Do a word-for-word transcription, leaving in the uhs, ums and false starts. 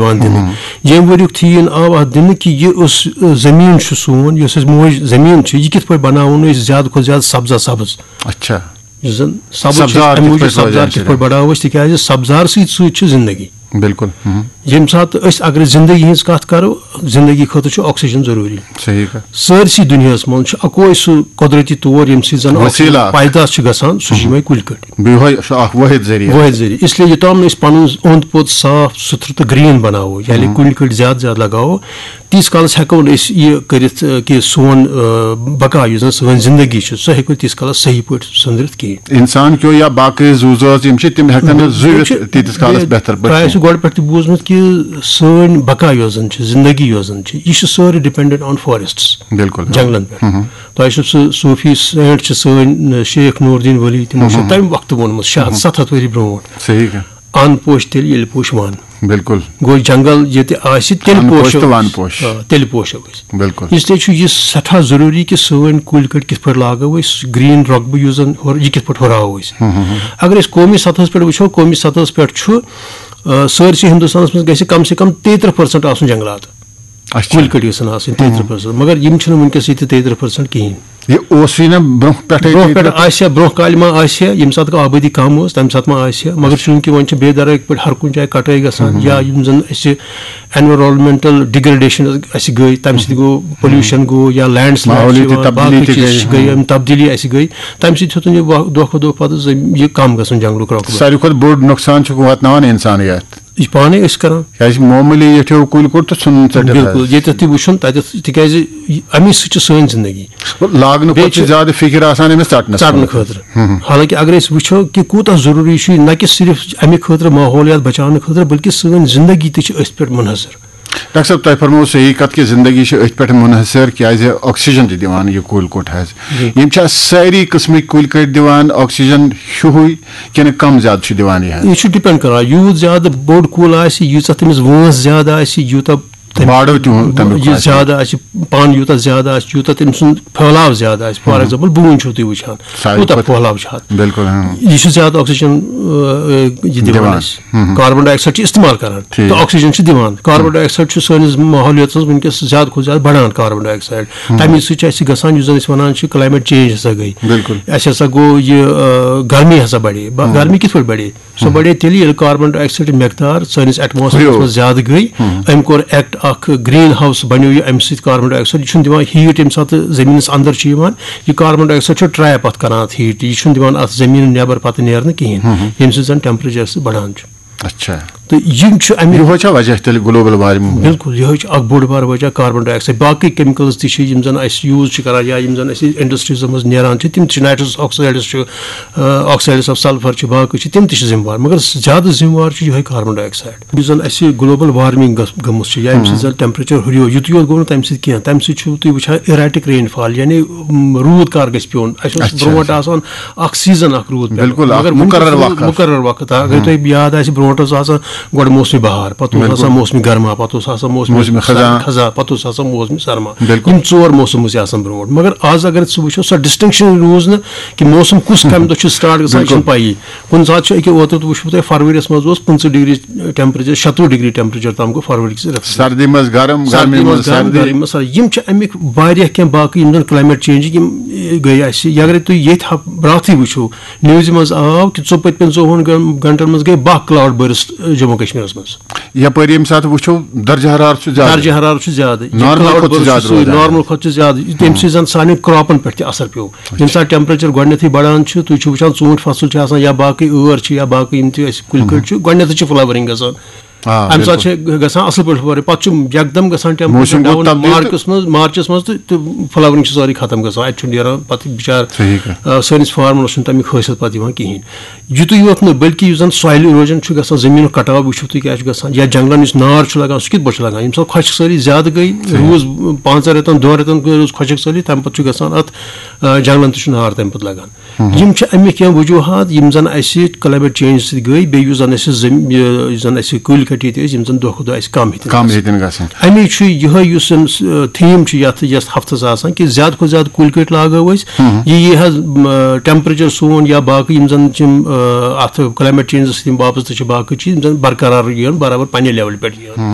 یِوان دِنہٕ۔ ییٚمہِ ؤریُک تھیٖم آو اَتھ دِنہٕ کہِ یہِ ٲس، زٔمیٖن چھُ سون، یۄس اَسہِ موج زٔمیٖن چھِ، یہِ کِتھ پٲٹھۍ بَناوون أسۍ زیادٕ کھۄتہٕ زیادٕ سبزا سبٕز۔ اچھا۔ یُس زَن سبٕز چھِ، سبزار اَمہِ کِتھ موٗجوٗب پٲٹھۍ روزِ سبزار اَمہِ کِتھ سۭتۍ؟ پٲٹھۍ بَڑاوو أسۍ، تِکیٛازِ سبزارسٕے سۭتۍ چھِ زِندگی۔ بِلکُل۔ ییٚمہِ ساتہٕ أسۍ اگر زِندگی ہِنٛز کَتھ کَرو، زِندگی خٲطرٕ چھُ oxygen ضروٗری۔ صحیح کَتھ۔ سٲرسٕے دُنیاہَس منٛز چھُ اَکوے سُہ قۄدرٔتی طور ییٚمہِ سۭتۍ زَن وسیٖلہٕ oxygen اکھ۔ پیداش چھِ گژھان، سُہ چھِ یِمَے کُلۍ کٔٹۍ۔ بیٚیہِ چھُ اکھ وٲحد ذٔریعہٕ۔ وٲحد ذٔریعہٕ۔ اس لیے یوٚتام نہٕ أسۍ پَنُن اوٚنٛد پوٚت صاف سُتھرٕ تہٕ green بَناوو، یعنی کُلۍ کٔٹۍ زیادٕ زیادٕ لَگاوو، تیٖتِس کالَس ہٮ۪کو نہٕ أسۍ یہِ کٔرِتھ، کہِ سون، آ، بقا، یُس زَن سٲنۍ زِندگی چھِ، سۄ ہٮ۪کو تیٖتِس کالَس صحیح پٲٹھۍ سٔنٛدرِتھ کِہیٖنۍ۔ اِنسان کیو یا باقٕے زُو زٲژ یِم چھِ، تِم ہٮ۪کَن نہٕ زُوِتھ تیٖتِس کالَس بہتر پٲٹھۍ۔ تۄہہِ آسِوٕ گۄڈٕ پٮ۪ٹھ تہِ بوٗزمُت کہِ سٲنۍ بقا یۄس زَن چھِ، زِندگی یۄس زَن چھِ، یہِ چھِ سٲرٕے dependent on forests، بِلکُل۔ جنٛگلَن پٮ۪ٹھ۔ تۄہہِ چھُ سُہ صوٗفی saint چھِ سٲنۍ، شیخ نور الدین ولی، تِمو چھُ تَمہِ وقتہٕ ووٚنمُت، شےٚ ہَتھ، سَتھ ہَتھ ؤری برونٛٹھ۔ صحیح۔ اَن پوش تیٚلہِ ییٚلہِ پوش وَن۔ بِلکُل۔ گوٚو جنٛگل ییٚتہِ آسہِ، تیٚلہِ اَن پوش پوشو تہٕ وَن أسۍ۔ پوش۔ آ، تیٚلہِ پوشو أسۍ۔ بِلکُل۔ اس لیے چھُ یہِ سٮ۪ٹھاہ ضروٗری کہِ سٲنۍ کُلۍ کٔٹۍ کِتھ پٲٹھۍ لاگو أسۍ، green رۄقبہٕ یُس زَن ہُر-، یہِ کِتھ پٲٹھۍ ہُراوو أسۍ۔ اگر أسۍ قومی سطحس پٮ۪ٹھ وٕچھو، قومی سطحس پٮ۪ٹھ چھُ، آ، سٲرسٕے ہِندُستانَس منٛز گژھِ کم سے کم تیٚیہِ تٕرٛہ percent آسُن جنٛگلات۔ اچھا۔ کُلۍ کٔٹۍ گژھن آسٕنۍ تیٚیہِ تٕرٛہ percent، مگر یِم چھِنہٕ وٕنکیٚس ییٚتہِ تیٚیہِ تٕرٛہ percent کِہیٖنۍ۔ یہِ اوسُے نہ برونٛہہ پٮ۪ٹھَے برونٛہہ پٮ۪ٹھ تیٚلہِ؟ آسہِ ہا، برونٛہہ کالہِ ما آسہِ ہا، ییٚمہِ ساتہٕ کانٛہہ آبٲدی کَم ٲس، تَمہِ ساتہٕ ما آسہِ ہا۔ مگر چوٗنٛکہِ وۄنۍ چھِ بے دَرٕکۍ پٲٹھۍ ہر کُنہِ جایہِ کَٹٲے گژھان، یا یِم زَن اَسہِ environmental degradation اَسہِ گٔے، تَمہِ سۭتۍ گوٚو، pollution گوٚو، یا landslide چھِ ماحولیٲتی یِوان، تبدیلی باقٕے تہِ چیٖز گٔے۔ چھِ گٔے، یِم تبدیٖلی اَسہِ گٔے، تَمہِ سۭتۍ ہیوٚتُن یہِ وق-، دۄہ کھۄتہٕ دۄہ پَتہٕ زٔمیٖن یہِ کَم گژھُن جنٛگلُک رۄقبہٕ۔ ساروی کھۄتہٕ بوٚڑ نۄقصان چھُ واتناوان اِنسانٕے اَتھ۔ یہِ چھِ پانَے أسۍ کَران۔ کیٛازِ معموٗلی ییٚٹھیو کُلۍ کوٚٹ تہٕ ژھُنُن ژٔٹِتھ بِلکُل، حظ۔ ییٚتٮ۪تھ تہِ وٕچھُن، تَتٮ۪تھ، تِکیٛازِ یہِ، اَمی سۭتۍ چھِ سٲنۍ زِندگی۔ لاگنہٕ بیٚیہِ کھۄتہٕ چھِ چھِ زیادٕ فِکِر آسان أمِس ژَٹنَس ژَٹنہٕ منٛز۔ خٲطرٕ۔ حالانکہِ اگر أسۍ وٕچھو کہِ کوٗتاہ ضروٗری چھُ یہِ، نہ کہِ صرف اَمہِ خٲطرٕ ماحولیات بچاونہٕ خٲطرٕ، بلکہِ سٲنۍ زِندگی تہِ چھِ أتھۍ پٮ۪ٹھ منحصر۔ ڈاکٹر صٲب، تۄہہِ فرموو صحیح کَتھ کہِ زِندگی چھِ أتھۍ پٮ۪ٹھ منحصر، کیٛازِ oxygen چھِ دِوان یہِ کُلۍ کوٚٹ حظ۔ جی۔ یِم چھا سٲری قٕسمٕکۍ کُلۍ کٔٹۍ دِوان oxygen ہیُوُے کِنہٕ کَم زیادٕ چھُ دِوان یہِ حظ؟ یہِ چھُ depend کران، یوٗت زیادٕ بوٚڑ کُل آسہِ، ییٖژاہ تٔمِس وٲنٛس زیادٕ آسہِ، یوٗتاہ تٔمِس باڈو تہِ ہُہ-، تَمیُک یہِ آسہِ۔ زیادٕ آسہِ، پَن یوٗتاہ زیادٕ آسہِ، یوٗتاہ تٔمۍ سُنٛد پھٲلاو زیادٕ آسہِ۔ For example، بوٗنۍ چھِو تُہۍ وٕچھان، ساروی کوٗتاہ کھۄتہٕ پھٲلاو چھُ اَتھ۔ بِلکُل، ہاں۔ یہِ چھُ زیادٕ oxygen، آ، یہِ دِوان دِوان۔ اَسہِ۔ Carbon dioxide چھِ استعمال کران، ٹھیٖک۔ تہٕ oxygen چھِ دِوان۔ Carbon dioxide چھُ سٲنِس ماحولیاتَس منٛز وٕنکیٚس زیادٕ کھۄتہٕ زیادٕ بڑان، carbon dioxide۔ تَمی سۭتۍ چھِ اَسہِ گژھان، یُس زَن أسۍ وَنان چھِ، climate change ہسا گٔے۔ بِلکُل۔ اَسہِ ہسا گوٚو یہِ، آ، گرمی ہسا بڑے۔ با-، گرمی کِتھ پٲٹھۍ بڑے؟ سۄ بڑے تیٚلہِ، ییٚلہِ carbon dioxide مقدار سٲنِس atmosphere ہُریو۔ منٛز زیادٕ گٔے۔ أمۍ کوٚر act اکھ، green house بنیو یہِ اَمہِ سۭتۍ، carbon dioxide۔ یہِ چھُنہٕ دِوان heat ییٚمہِ ساتہٕ زٔمیٖنَس اندر چھُ یِوان۔ یہِ carbon dioxide چھُ trap اَتھ کران اَتھ heat۔ یہِ چھُنہٕ دِوان اَتھ زٔمیٖنہِ نٮ۪بر پتہٕ نیرنہٕ کِہیٖنۍ، ییٚمہِ سۭتۍ زَن temperature سُہ بڑان چھُ۔ اچھا۔ تہٕ یِم چھِ اَمہِ یِہوے چھا وجہ تیٚلہِ global warming ہُنٛد؟ بِلکُل، یِہوے چھُ اَکھ بوٚڑ بار وجہ carbon dioxide۔ باقٕے chemicals تہِ چھِ، یِم زَن اَسہِ use چھِ کران یا یِم زَن اَسہِ industries منٛز نیران چھِ، تِم تہِ چھِ، nitrous oxides چھُ، آ، oxides of sulphur چھِ، باقٕے چھِ، تِم تہِ چھِ ذمہٕ وار۔ مگر زیادٕ ذمہٕ وار چھُ یِہوے carbon dioxide۔ یُس زَن اَسہِ global warming گٔژھ-، گٔمٕژ چھِ یا ییٚمہِ سۭتۍ زَن temperature ہُریو، یُتُے یوت گوٚو نہٕ تَمہِ سۭتۍ کینٛہہ، تَمہِ سۭتۍ چھُو تُہۍ وٕچھان erratic rainfall، یعنی، م، روٗد کر گژھِ پیوٚن۔ اَسہِ اوس اچھا، برونٛٹھ اچھا۔ آسان اکھ season اکھ روٗد پیٚوان۔ بِلکُل، اکھ مگر وُنکیٚس مُقرر چھُ وقت۔ مُقرر وقت۔ اگر تۄہہِ یاد آسہِ، برونٛٹھ اوس آسان گۄڈٕ موسمِ بہار، پتہٕ اوس آسان بِلکُل۔ موسمِ گرما، پتہٕ اوس آسان موسمِ موسمِ خزاں۔ خزاں، پتہٕ اوس آسان موسمِ سرما۔ بِلکُل۔ یِم ژور موسم ٲسۍ آسان برونٛٹھ۔ مگر آز اگر ژٕ وٕچھو، سۄ distinction روٗز نہٕ کہِ موسم کُس کمہِ دۄہ چھُ start گژھان، یہِ چھُنہٕ بِلکُل۔ پَیی۔ کُنہِ ساتہٕ چھُ أکیاہ اوترٕ تہِ وٕچھو تۄہہِ، فرؤریَس منٛز اوس پٕنٛژٕہ ڈگری temperature، شَتوُہ ڈگری temperature تام گوٚو فرؤری کِس رٮ۪تَس منٛز۔ سردی منٛز گرم، سردی گرمی منٛز منٛز گرم، سردی۔ گرمی منٛز سردی۔ یِم چھِ اَمِکۍ واریاہ کینٛہہ باقٕے یِم زَن climate change یِم، اے، گٔے اَسہِ۔ یا اگرے تُہۍ ییٚتہِ ہا-، براتھٕے وٕچھو، newsہِ منٛز آو کہِ ژو-، پٔتمٮ۪ن ژوٚوُہَن گن-، گنٹَن منٛز گٔے باہ cloud burst، اے، جموں کشمیٖرَس منٛز۔ یَپٲرۍ ییٚمہِ ساتہٕ وٕچھو، درجہ حرارت چھُ زیادٕ۔ درجہ حرارت چھُ زیادٕ۔ یہِ Normal cloud کھۄتہٕ چھُ burst زیادٕ چھُ سُے، روزان۔ Normal کھۄتہٕ چھُ زیادٕ۔ یہِ تَمہِ سۭتۍ زَن سانٮ۪ن کراپَن پٮ۪ٹھ تہِ اثر پیوٚو۔ ییٚمہِ ساتہٕ temperature گۄڈٕنٮ۪تھٕے بڑان چھُ، تُہۍ چھِو وٕچھان، ژوٗنٛٹھۍ فصٕل چھِ آسان یا باقٕے ٲر چھِ یا باقٕے یِم تہِ اَسہِ کُلۍ کٔٹۍ چھِ، گۄڈٕنٮ۪تھٕے چھِ flowering گژھان۔ آ، اَمہِ ساتہٕ بِلکُل۔ چھِ گژھان اَصٕل پٲٹھۍ flowering۔ پَتہٕ چھُ یکدم گژھان temperature موسم گوٚو down تبدیل تہٕ مارچَس منٛز، مارچَس منٛز تہٕ، تہٕ flowering چھِ سٲرٕے ختم گژھان۔ اَتہِ چھُنہٕ نیران پَتہٕ بِچار، صحیح کَتھ۔ آ، سٲنِس farmerس چھُنہٕ تَمیُک حٲصِل پَتہٕ یِوان کِہیٖنۍ۔ یُتُے یوت نہٕ، بلکہِ یُس زَن soil erosion چھُ گژھان، زٔمیٖنُک کٹاو وٕچھِو تُہۍ کیٛاہ چھُ گژھان، یا جنٛگلَن یُس نار چھُ لگان، سُہ کِتھ پٲٹھۍ چھُ لگان؟ ییٚمہِ ساتہٕ خۄشک سٲلی زیادٕ گٔے، صحیح۔ روٗز پانٛژَن رٮ۪تَن، دۄن رٮ۪تَن گٔے روٗز خۄشک سٲلی، تَمہِ پَتہٕ چھُ گژھان اَتھ، آ، جنٛگلَن تہِ چھُ نار تَمہِ پَتہٕ لگان۔ یِم چھِ اَمِکۍ کینٛہہ وجوٗہات، یِم زَن اَسہِ climate change سۭتۍ گٔے، بیٚیہِ یُس زَن اَسہِ زٔمۍ-، یہِ، یُس زَن اَسہِ کُلۍ کٔٹۍ تہِ ٲسۍ، یِم زَن دۄہ کھۄتہٕ دۄہ اَسہِ کَم ہیٚتِن کم گژھٕنۍ۔ ہیٚتن گژھٕنۍ۔ اَمی چھُ یِہوٚے یُس أمِس تھیٖم چھُ یَتھ یَتھ ہفتَس آسان، کہِ زیادٕ کھۄتہٕ زیادٕ کُلۍ کٔٹۍ لاگو أسۍ۔ یہِ یی حظ ٹیمپریچر سون یا باقٕے یِم زَن چھِ یِم، آ، اَتھ کلایمیٹ چینجَس سۭتۍ یِم وابستہٕ چھِ، باقٕے چیٖز یِم زَن برقرار یِن، برابر پننہِ لیولہِ پٮ۪ٹھ یِن۔